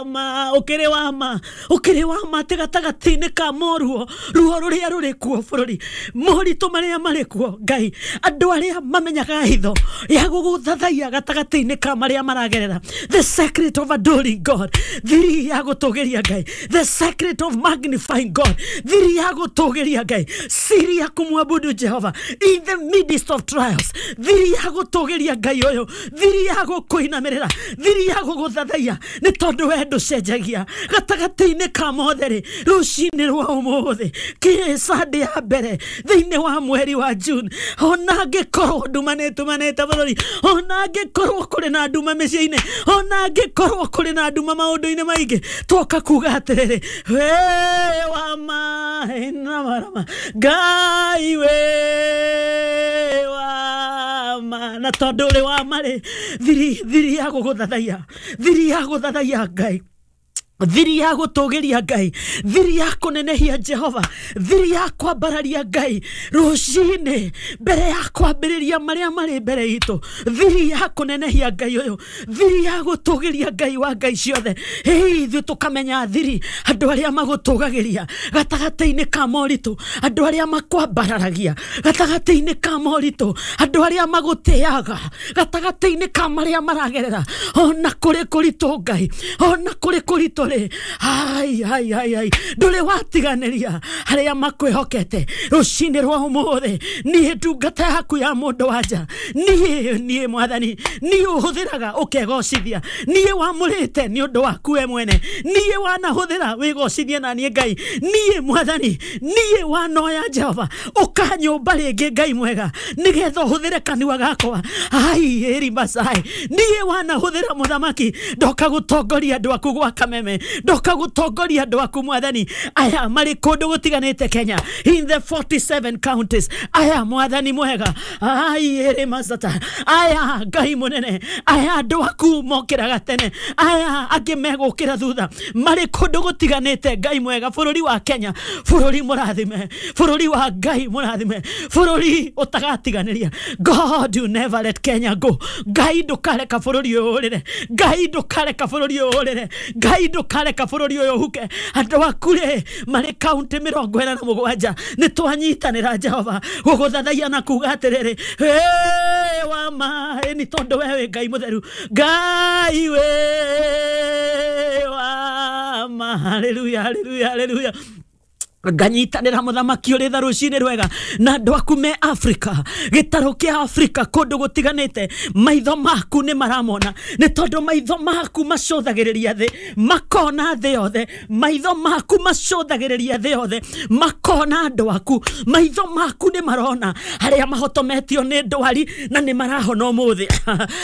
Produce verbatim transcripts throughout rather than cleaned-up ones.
Ma ukiri wa ma ukiri wa ma tigatagatini ka moruo ruo ruria ruri kuo bururi moritũ maria marĩ kuo Ngai andũ aria mamenyaga hitho ya gũgũthathaiya gatagatĩ-inĩ ka maria maragerera the secret of adoring God thiri ya gũtũgĩria Ngai the secret of magnifying God thiri ya gũtũgĩria Ngai siri ya kumwabudu Jehova in the midst of trials thiri ya gũtũgĩria Ngai ũyũ thiri ya gũkũinamĩrĩra thiri ya gũgũthathaiya nĩ tondũ we ndũcenjagia gatagatĩ-inĩ ka mothe rĩ rũcinĩ rwa ũmũthĩ kĩ Sunday ya mbere thĩinĩ wa mweri wa June ona angĩkorwo nduma nĩ ĩtumanĩte bũrũri ona angĩkorwo kũrĩ na nduma mĩciĩ-inĩ ona angĩkorwo kũrĩ na nduma maũndũ-inĩ maingĩ twoka kuga atĩrĩrĩ we wa maĩ na marama Ngai we wa ma na tondũ ũrĩ wa marĩ thiri thiri ya gũgũthathaiya thiri ya gũthathaiya Ngai thiri ya gũtũgĩria Ngai thiri ya kũnenehia Jehova thiri ya kwambararia Ngai rũcinĩ mbere ya kwambĩrĩria marĩa marĩ mbere itũ thiri ya kũnenehia Ngai ũyũ thiri ya gũtũgĩria Ngai wa Ngai ciothe hĩ ithuĩ tũkamenya thiri andũ arĩa magũtũgagĩria gatagatĩ-inĩ ka moritũ andũ arĩa makwambararagia gatagatĩ-inĩ ka moritũ andũ arĩa magũtĩaga gatagatĩ-inĩ ka marĩa maragerera ona kũrĩ kũritũ Ngai ona kũrĩ kũritũ hai hai hai hai ndũrĩ watiganĩria arĩa makwĩhokete rũcinĩ rwa ũmũthĩ niĩ ndungata yaku ya mũndũ wanja niĩ niĩ mwathani niĩ ũhũthĩraga ũkegocithia niĩ wamũrĩte nĩ ũndũ waku we mwene niĩ wanahũthĩra wĩgocithie na niĩ Ngai niĩ mwathani niĩ wanoya Jehova ũkanyũmba rĩngĩ Ngai mwega nĩgetha ũhũthĩre kanua gakwa ai ĩri macai niĩ wanahũthĩra mũthamaki ndoka gũtongoria andũ aku gwa Kameme ndoka gũtongoria andũ aku mwathani aya marĩ kũndũ gũtiganĩte Kenya in the forty-seven counties aya mwathani mwega ai ĩrĩ macata aya Ngai mũnene aya andũ aku mokĩraga tene aya angĩ megũkĩra thutha marĩ kũndũ gũtiganĩte Ngai mwega bũrũri wa Kenya bũrũri mũrathime bũrũri wa Ngai mũrathime bũrũri ũtagatiganĩria God you never let Kenya go Ngai ndũkareka bũrũri ũyũ ũrĩre Ngai ndũkareka bũrũri ũyũ ũrĩre Ngai ndũkareka bũrũri ũyũ ũhuke andũ aku rĩ marĩ kaunti mĩrongo ĩna na mũgwanja nĩ twanyitanĩra Jehova gũgũthathaiya na kuga atĩrĩrĩ we wa ma nĩ tondũ we wĩ Ngai mũtheru Ngai we wa ma haleluya haleluya haleluya nganyitanĩra mũthamaki ũrĩ tha rũcinĩ rwega na andũ aku me Afrika gĩtarũ kĩa Afrika kũndũ gũtiganĩte maitho maku nĩ maramona nĩ tondũ maitho maku macũthagĩrĩria thĩ makona thĩ yothe maitho maku macũthagĩrĩria thĩ yothe makona andũ aku maitho maku nĩ marona arĩa mahotometio nĩ ndwari na nĩ marahona ũmũthĩ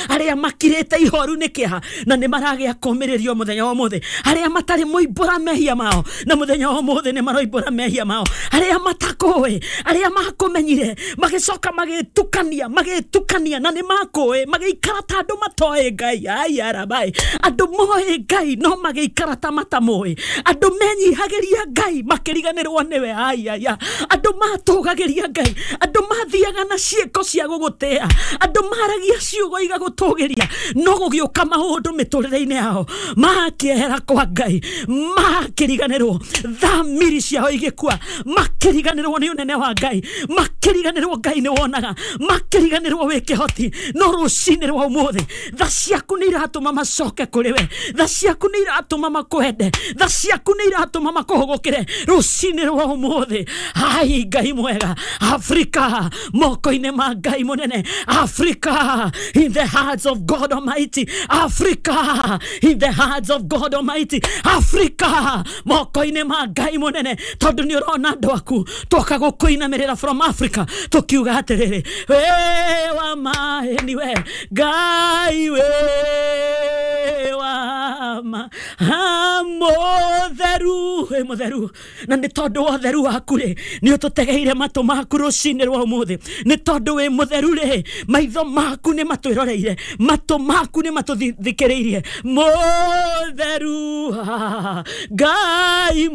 arĩa makirĩte ihoru nĩ kĩeha na nĩ maragĩa kũmĩrĩrio mũthenya wa ũmũthĩ arĩa matarĩ mũimbũra mehia mao na mũthenya wa ũmũthĩ nĩ maroimbũra mehia mao arĩa matakũĩ arĩa makũmenyire magĩcoka magĩtukania magĩtukania na nĩ makũĩ magĩikara ta andũ matoĩ Ngai ai arabai andũ moĩ Ngai no magĩikara ta matamũĩ andũ menyihagĩria Ngai makĩriganĩrwo nĩwe ai ai andũ matũgagĩria Ngai andũ mathiaga na ciĩko cia gũgũtĩa andũ maragia ciugo igagũtũgĩria no gũgĩũka maũndũ mĩtũrĩre-inĩ yao makĩehera kwa Ngai makĩriganĩrwo thamiri ciao igĩkua makĩriganĩrwo nĩ ũnene wa Ngai makĩriganĩrwo Ngai nĩ wonaga makĩriganĩrwo wĩ kĩhoti no rũcinĩ rwa ũmũthĩ tha ciaku nĩ iratũma macoke kũrĩ we tha ciaku nĩ iratũma makwende tha ciaku nĩ iratũma makũhũgũkĩre rũcinĩ rwa ũmũthĩ ai Ngai mwega Afrika moko-inĩ ma Ngai mũnene Afrika in the hands of God Almighty Africa in the hands of God Almighty Africa moko-inĩ ma Ngai mũnene tondũ nĩ ũrona andũ aku twoka gũkũinamĩrĩra from Africa tũkiuga atĩrĩrĩ we wa maĩ nĩwe Ngai we wa ma mũtheru wĩ mũtheru na nĩ tondũ wa ũtheru waku rĩ nĩ ũtũtegeire matũ maku rũcinĩ rwa ũmũthĩ nĩ tondũ wĩ mũtheru rĩ maitho maku nĩ matwĩroreire matũ maku nĩ matũthikĩrĩirie mũtheru Ngai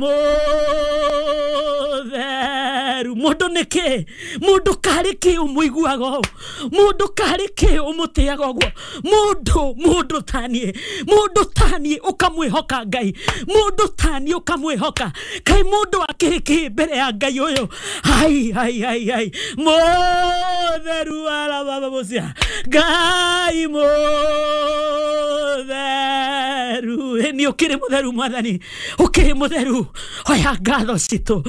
mũtheru Mutheru mundu niki mundu kari ki umuiguaga mundu kari ki umutiaga uguo mundu mundu tanie mundu tanie ukamwihoka Ngai mundu tanie ukamwihoka kai mundu akiri ki mbere ya Ngai uyu hai hai hai hai Mutheru ala baba mucia Ngai mutheru ni ukiri mutheru Mwathani ukiri mutheru oya ngatho citu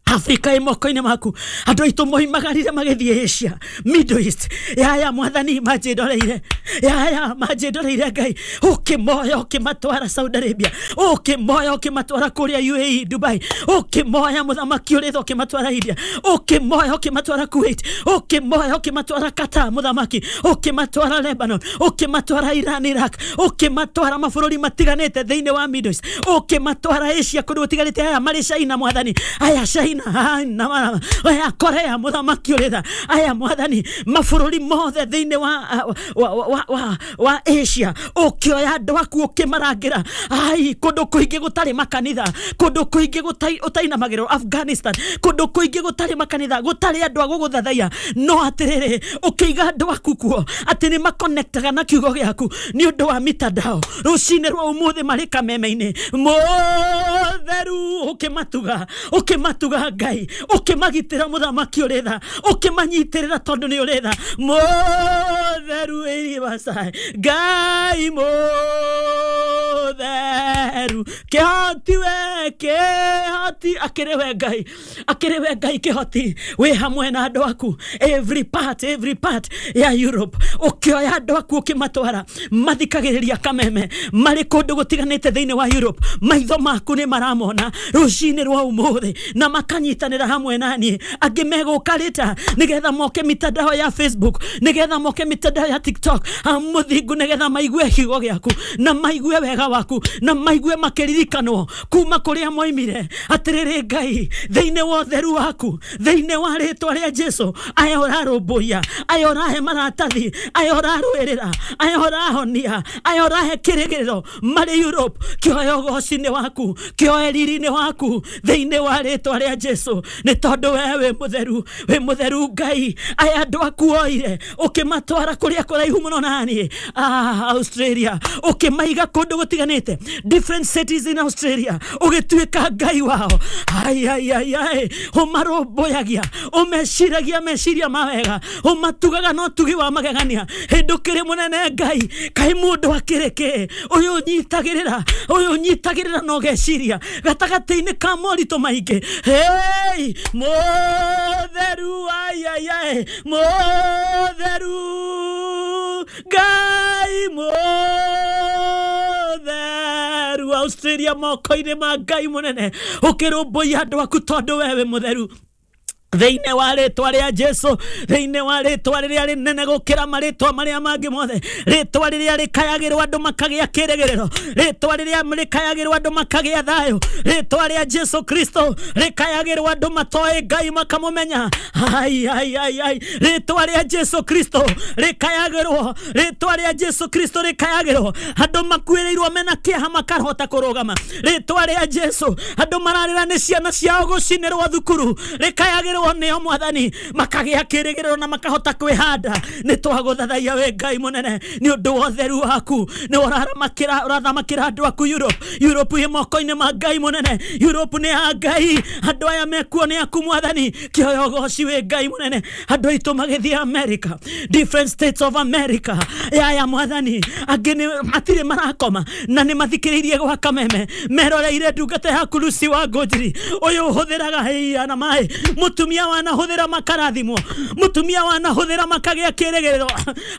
Afrika ĩ moko-inĩ maku andũ aitũ moimagarire magĩthiĩ Asia Middle East yaya Mwathani manjĩndoreire yaya manjĩndoreire Ngai ũkĩmoya ũkĩmatwara Saudi Arabia ũkĩmoya ũkĩmatwara kũrĩa U A E Dubai ũkĩmoya mũthamaki ũrĩ tha ũkĩmatwara India ũkĩmoya ũkĩmatwara Kuwait ũkĩmoya ũkĩmatwara Qatar mũthamaki ũkĩmatwara Lebanon ũkĩmatwara Iran Iraq ũkĩmatwara mabũrũri matiganĩte thĩinĩ wa Middle East ũkĩmatwara Asia kũndũ gũtiganĩte aya marĩ China Mwathani aya China na aya Korea mũthamaki ũrĩ tha aya Mwathani mabũrũri mothe thĩinĩ wa wa wa wa Asia ũkĩoya andũ aku ũkĩmarangĩra ai kũndũ kũingĩ gũtarĩ makanitha kũndũ kũingĩ ũtainamagĩrwo Afghanistan kũndũ kũingĩ gũtarĩ makanitha gũtarĩ andũ a gũgũthathaiya no atĩrĩrĩ ũkĩiga andũ aku kuo atĩ nĩ makonektaga na kiugo gĩaku nĩ ũndũ wa mitandao rũcinĩ rwa ũmũthĩ marĩ kameme-inĩ Mũtheru ũkĩmatuga ũkĩmatuga Ngai ũkĩmagitĩra mũthamaki ũrĩ tha ũkĩmanyitĩrĩra tondũ nĩ ũrĩ tha Mũtheru ĩribacai Ngai mũtheru kĩhoti we kĩhoti akĩrĩ we Ngai akĩrĩ we Ngai kĩhoti wĩ hamwe na andũ aku every part every part ya Europe ũkĩoya andũ aku ũkĩmatwara mathikagĩrĩria kameme marĩ kũndũ gũtiganĩte thĩinĩ wa Europe maitho maku nĩ maramona rũcinĩ rwa ũmũthĩ na makanyitanĩra hamwe naniĩ angĩ megũka rĩta nĩgetha moke mitandao ya Facebook nĩgetha moke mitandao ya TikTok mũthingu nĩgetha maigue kiugo gĩaku na maigue wega waku na maigue makĩririkanwo kuma kũrĩa moimire atĩrĩrĩ Ngai thĩinĩ wa ũtheru waku thĩinĩ wa rĩtwa rĩa Jesu aya ũrarũmbũiya aya ũrahe maratathi aya ũrarũĩrĩra aya ũrahonia aya ũrahe kĩrĩgĩrĩro marĩ Europe kĩoe ũgoci-inĩ waku kĩoe riri-inĩ waku thĩinĩ wa rĩtwa rĩa Jesu nĩ tondũ we wĩ mũtheru wĩ mũtheru Ngai aya andũ aku oire ũkĩmatwara kũrĩa kũraihu mũno naniĩ ah, Australia ũkĩmaiga kũndũ gũtiganĩte different cities in Australia ũgĩtuĩka Ngai wao ai ai ai ai ũmarũmbũyagia ũmeciragia meciria ma wega ũmatugaga na ũtugi wa magegania hĩndĩ ũkĩrĩ mũnene Ngai kaĩ mũndũ akĩrĩ kĩ ũyũ ũnyitagĩrĩra ũyũ ũnyitagĩrĩra na ũgeciria gatagatĩ-inĩ ka moritũ maingĩ hey Mũtheru ai ai ai Mũtheru Ngai Mũtheru Australia moko-inĩ ma Ngai mũnene ũkĩrũmbũiya andũ aku tondũ we wĩ mũtheru thĩinĩ wa rĩtwa rĩa Jesu thĩinĩ wa rĩtwa rĩrĩa rĩnene gũkĩra marĩtwa marĩa mangĩ mothe rĩtwa rĩrĩa rĩkayagĩrwo andũ makagĩa kĩrĩgĩrĩro rĩtwa rĩrĩa rĩkayagĩrwo andũ makagĩa thayũ rĩtwa rĩa Jesu Kristo rĩkayagĩrwo andũ matoĩ Ngai makamũmenya ai ai ai ai rĩtwa rĩa Jesu Kristo rĩkayagĩrwo rĩtwa rĩa Jesu Kristo rĩkayagĩrwo andũ makuĩrĩirwo mena kĩeha makarhota kũrũgama rĩtwa rĩa Jesu andũ mararĩra nĩ ciana ciao gũcinĩrwo thukuru rĩkayagĩrwo nĩo Mwathani makagĩa kĩrĩgĩrĩro na makahota kwĩhanda nĩ twagũthathaiya we Ngai mũnene nĩ ũndũ wa ũtheru waku nĩ ũramakĩra ũrathamakĩra andũ aku Europe Europe ĩ moko-inĩ ma Ngai mũnene Europe nĩ ya Ngai andũ aya mekuo nĩ aku Mwathani kĩoya ũgoci wĩ Ngai mũnene andũ aitũ magĩthiĩ America different states of America yaya Mwathani angĩ nĩ matirĩ marakoma na nĩ mathikĩrĩirie gwa kameme meroreire ndungata yaku Lucy wa Ngũnjiri ũyũ ũhũthĩraga hĩa na maĩ mũtumia wanahũthĩra makarathimwo mũtumia wanahũthĩra makagĩa kĩrĩgĩrĩro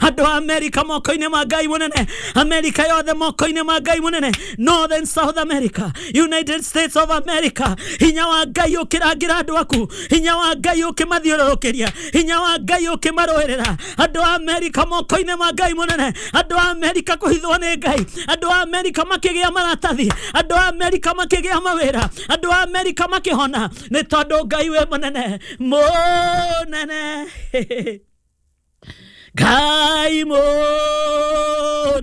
andũ a America moko-inĩ ma Ngai mũnene America yothe moko-inĩ ma Ngai mũnene Northern South America United States of America hinya wa Ngai ũkĩrangĩra andũ aku hinya wa Ngai ũkĩmathiũrũrũkĩria hinya wa Ngai ũkĩmarũĩrĩra andũ a America moko-inĩ ma Ngai mũnene andũ a America kũhithwo nĩ Ngai andũ a America makĩgĩa maratathi andũ a America makĩgĩa mawĩra andũ a America makĩhona nĩ tondũ Ngai wĩ mũnene mũnene Ngai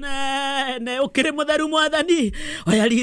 mũnene ũkĩrĩ mũtheru Mwathani oya riri.